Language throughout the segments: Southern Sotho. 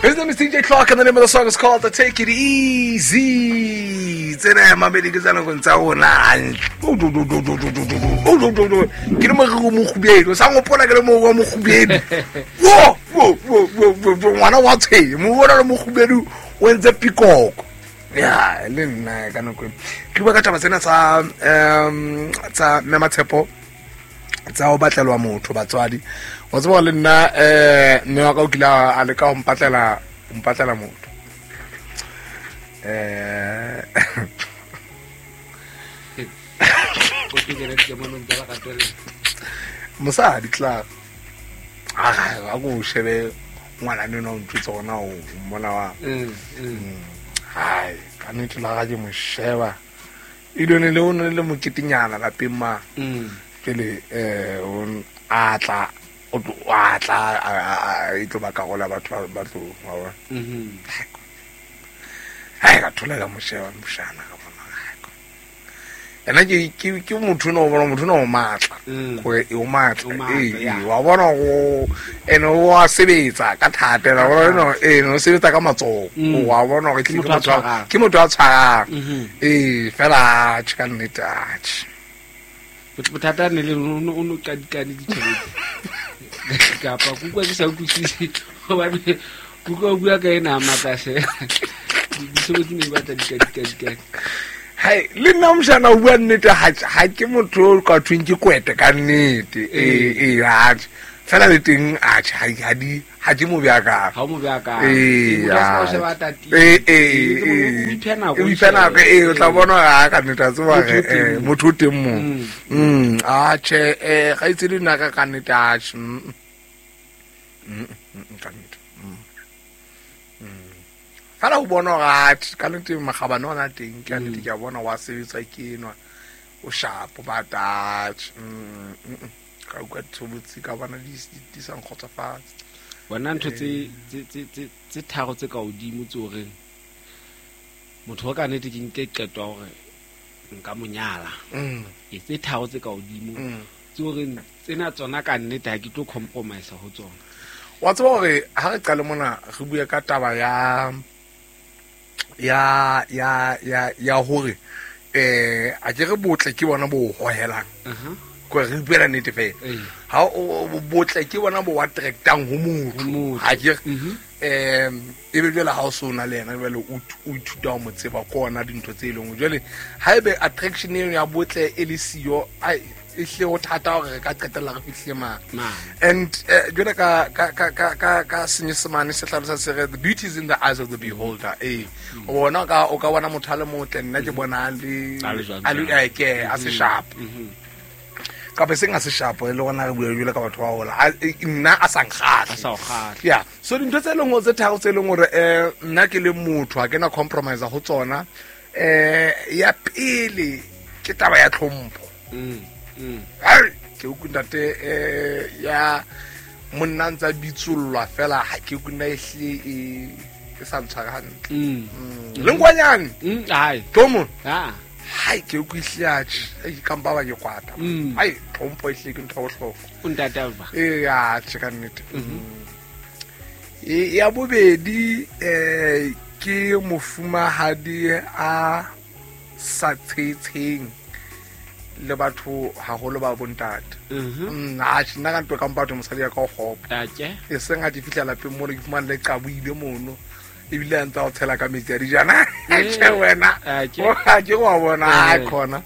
His name is DJ Clark, and the name of the song is called "Take It Easy." Tsena mamedi ke tsa nakong tsa rona. Ke le moriri o mokgubedu, sa ngopola ke le moriri wa mokgubedu. Wo, wo, wo, wo, wo, wo, ngwana wa tshwenya, moriri ona le mokgubedu o entse pikoko. Ya, le nna ka nako e. Ke bua ka taba tsena tsa tsa Mme Matshepo tsa go batlelwa motho batswadi. Wa tseba le nna mme wa ka o kile a leka go mpatlela motho. O ke kena dikamanong tsa lerato le. Mosadi tla a ko shebe ngwana nena o ntse gona o mmona wa. Hai, ka nnete la ga ke mo sheba. E lone le o ne le moketenyana lapeng ma. Pele o a tla o a tla a e tlo ba karola batho ba tlo wa bona. Hai, ka thola ka mo sheba moshana ka bona. Ena ke motho no bona motho no matla. Gore e o matla. O matla, ya. Wa bona go ene o a sebetsa ka thata, wa bona no, no sebetsa ka matsoho. Wa bona gore Ke ke motho a motho a tshwarang. ke motho a tshwarang. Fela atjhe ka nnete atjhe. Bothata ne le o no, o no qadikane ditjhelete. Kapa ke utlwa ke sa utlwisise hobane ke utlwa o bua ka ena a makase. Ditshobotsi ne di batla di kadikadikane. Hai, le nna moshana o bua nnete, ha ke motho o ka thweng ke kwete ka nnete. Atjhe. Fela le teng, atjhe, ha di, ha ke mo beakang. Ha o mo beakang. Motho a se ka o sheba a tatile. Ke motho o iphe nako, O iphe nako, o tla bona hore ha ka nnete, a tseba Motho o hore, teng moo. motho o teng moo. Atjhe, kgaitsedi nna ka nnete, atjhe. Ka nnete. Fela o bona hore atjhe, ka nnete makgabane ona teng, ke a nnete, ke a bona wa sebetsa ke enwa, o sharp, ba atjhe. Ka utlwa ditshobotsi ka bona di sa nkgotsofatse. Bona ntho tse tharo tse ka hodimo tse o reng motho wa ka nnete ke nke qeto ya hore nka mo nyala. E tse tharo tse ka hodimo tse o reng tsena tsona ka nnete ha ke tlo compromise ho tsona. Wa tseba hore ha re qale mona re bue ka taba ya hore, a ke re botle ke bona bo hohelang. Ko re buela nnete fela. Ha o botle ke bona bo attractang ho motho. Ho motho. Ha ke re, e be jwale ha o so na le yena, jwale o ithuta ho mo tseba ke ona dintho tse leng. Jwale ha ebe attraction eno ya botle e le siyo, ai, e hle ho thata hore re ka qetella re fihlile mane. Mane. And jwale ka Senyesemane se hlalosa se re, the beauty is in the eyes of the beholder. O bona o ka bona motho a le motle, nna ke bona a le, A le jwang a le, jwang. ke, a se sharp. Kapa seng a se sharp, e le gona re bua jwale ka batho ba hola. A, e, nna a sa nkgahle. A sa o kgahle. Yeah. So dintho tse leng hore tse tharo tse leng hore, nna ke le motho ha ke na compromise ho tsona. Ya pele ke taba ya tlhompho. Ai, ke utlwe ntate, ya monna a ntsa bitsollwa fela, ha ke utlwe nna e hlile e sa ntshware hantle. Le nkwanyane. Hai. Tlo mo. Ha. Hai, ke utlwe ehlile atjhe. Ei, ka mpa ba ke kwata. Hai, tlhompho ehlile ke ntho ya bohlokwa. O ntate a ba. Ee, atjhe, ka nnete. Ya bobedi, ke mofumahadi a sa tshetsheng le batho haholo ba bontate. Atjhe, nna ka ntwe ka mpa batho mosadi ya ka o kgopo. Atjhe. E seng ha ke fihla lapeng mono, ke fumane le qaboile mono. Ebile a ntse a o tshela ka metsi a dijana. Atjhe, wena. Atjhe. O, ha ke wa bona, ha khona.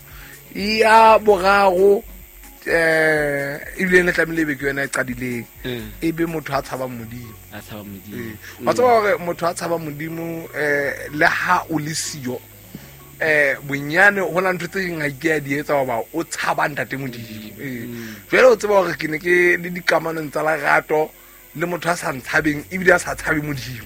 Ya boraro, ebile ne tlamehile ebe ke yona e qadileng. E be motho a tshabang Modimo. A tshabang Modimo. Wa tseba hore motho a tshabang Modimo, le ha o le siyo, bonyane ho na ntho tse ding ha ke a di etsa hoba o tshaba ntate Modimo. Jwale o tseba hore ke ne ke le dikamanong tsa lerato le motho a sa ntshabeng ebile a sa tshabe Modimo.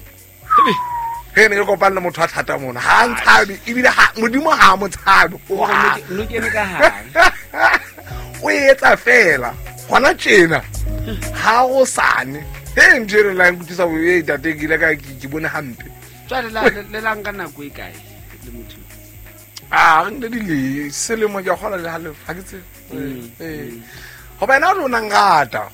He ne ke kopane le motho a thata mona, ha a ntshabe ebile ha Modimo ha a mo tshabe. O re no kene ka hare. O etsa fela hona tjena ha o sane. He ntho eno la nkutlwisa bo, e, ntate, ke ile ka, ke bone hampe. Jwale le la nka nako e kae le motho? A, re nkile di le selemo ke a kgolwa le halofo, ha ke tsebe. Goba ena o nang rata.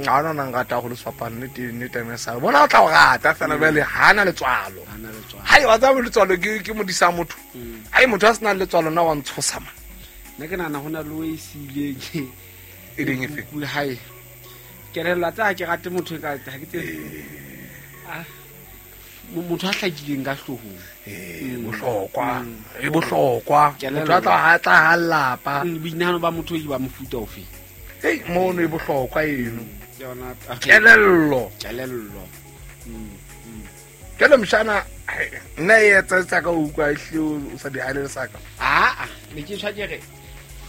Ga ona nang rata go le sefapano nnete mme sa bona o tla o rata fela bjale ga ana letswalo. Ha na letswalo. Hai wa tseba letswalo ke modisa motho. Ai motho a senang letswalo nna wa ntshosa man. Nna ke nahana ho na le o e siileng. E leng efe? Kuku hae. Kelello tsa ha ke rate motho e ka ha ke tsebe. Ah, motho a hlakileng ka hloohong. Bohlokwa. E bohlokwa. Kelello. Motho a tla ha tla ha lapa. Boinahano ba motho e ba mofuta ofe? Hei, mono e bohlokwa eno. Ke yona taba. Kelello. Kelello. Jwale mshana, hai, nna e etsa tsa ka utlwa e hlile o sa di hale le saka. Aa, ne ke tshwa ke re,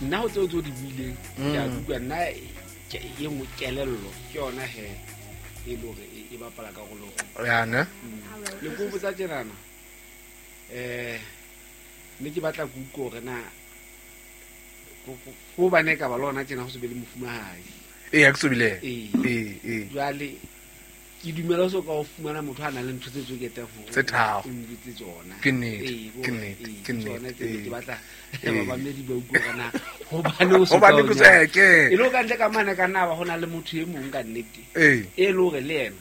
nna ho tseo tse o di buileng, ke a utlwa nna ke e nngwe kelello ke yona he e le hore e bapala karolo. Ya ne? Le ko botsa tjenana. Ne ke batla ke utlwe hore na ko bane ka ba le hona tjena ho se be le mofumahadi. Ee, ha ke sobile. Ee. Ee, ee. Jwale ke dumela so ka ho fumana motho a nang le ntho tse tsoketeng hore Tse tharo. o njwetse tsona. Ke nnete, Ee, ke nnete, ee, ke nnete, tsona tse ee. ke batla Ee. bamamedi ba utlwe hore na hobane o so Hobane ka o ke nyala. se ke. E le ho ka ntle ka mane ka nna ba ho na le motho e mong ka nnete. Ee. E le hore le yena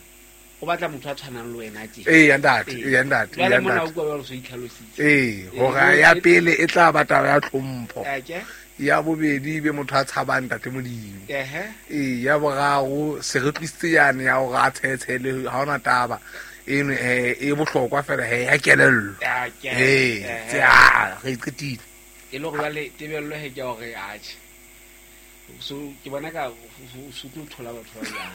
o batla motho a tshwanang le wena tje. Ee, ya ntate, Ee. ee, ya ntate, Jwale ya mona ntate. utlwa jwalo so itlhalositse. Ee, Ee, hore jwale ya e- pele e tla ba taba ya tlhompho. A ke? Ya bobedi e be motho a tshabang ntate Modimo. Ehe. Ee, ya boraro se re tlisitse yane ya hore a tshetshele ha hona taba. Eno e bohlokwa fela he ya kelello. A ke? Ee, Ehe. tse a re qetile. E le hore jwale tebello he ke ya hore atjhe. So ke bona ka so tlo thola batho ba jwang.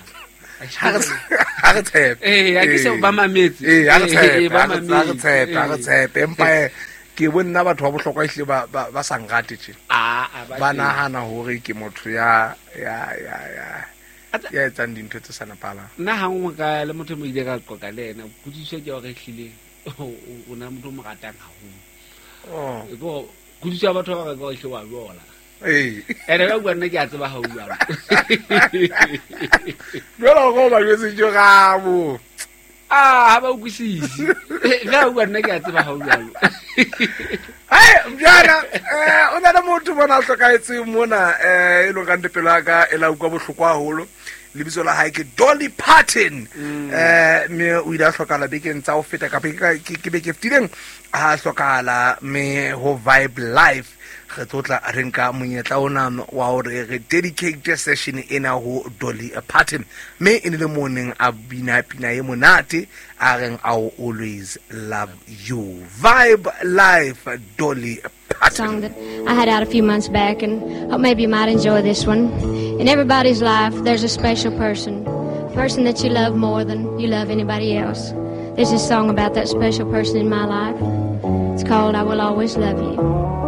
Ha re tshepe. Ee, ha ke se ba mametse. Ee, ha re Ee, tshepe, ba ha re mametse. tshepe, ha re Ee. tshepe. Empa ke bo nna batho ba bohlokwa ehlile ba sa nrate tje. Ah, ah, Ba ba teng. nahana hore ke motho ya Atsa- ya etsang dintho tse sa nepahalang. Nna ha nngwe ka le motho e mo ile ka qoqa le yena, kutlwisiso ke ya hore ehlile o na motho o mo ratang haholo. Oh. E ke hore kutlwisiso ya batho ba bang ke hore ehlile wa jola. Ee. Ene ka bua nna ke a tseba ha o jwalo. Jwale hore o ba jwetse ke rabo. Ah, ha ba utlwisise. Ka bua nna ke a tseba ha o jwalo. Hai, Mjana, o na le motho mona a hlokahetseng mona, e leng kante pelo ya ka e la utlwa bohloko haholo. Lebitso la hae ke Dolly Parton. Mme o ile a hlokahala bekeng tsa ho feta kapa ke beke e fetileng ha hlokahala, mme ho Vibe Life re tlotla re nka monyetla ona wa hore re dedicate session ena ho Dolly Parton, mme e ne le mo neng a bina pina e monate a reng I will always love you. Vibe Life, Dolly Parton. Song that I had out a few months back, and hope maybe you might enjoy this one. In everybody's life, there's a special person, a person that you love more than you love anybody else. There's a song about that special person in my life. It's called I Will Always Love You.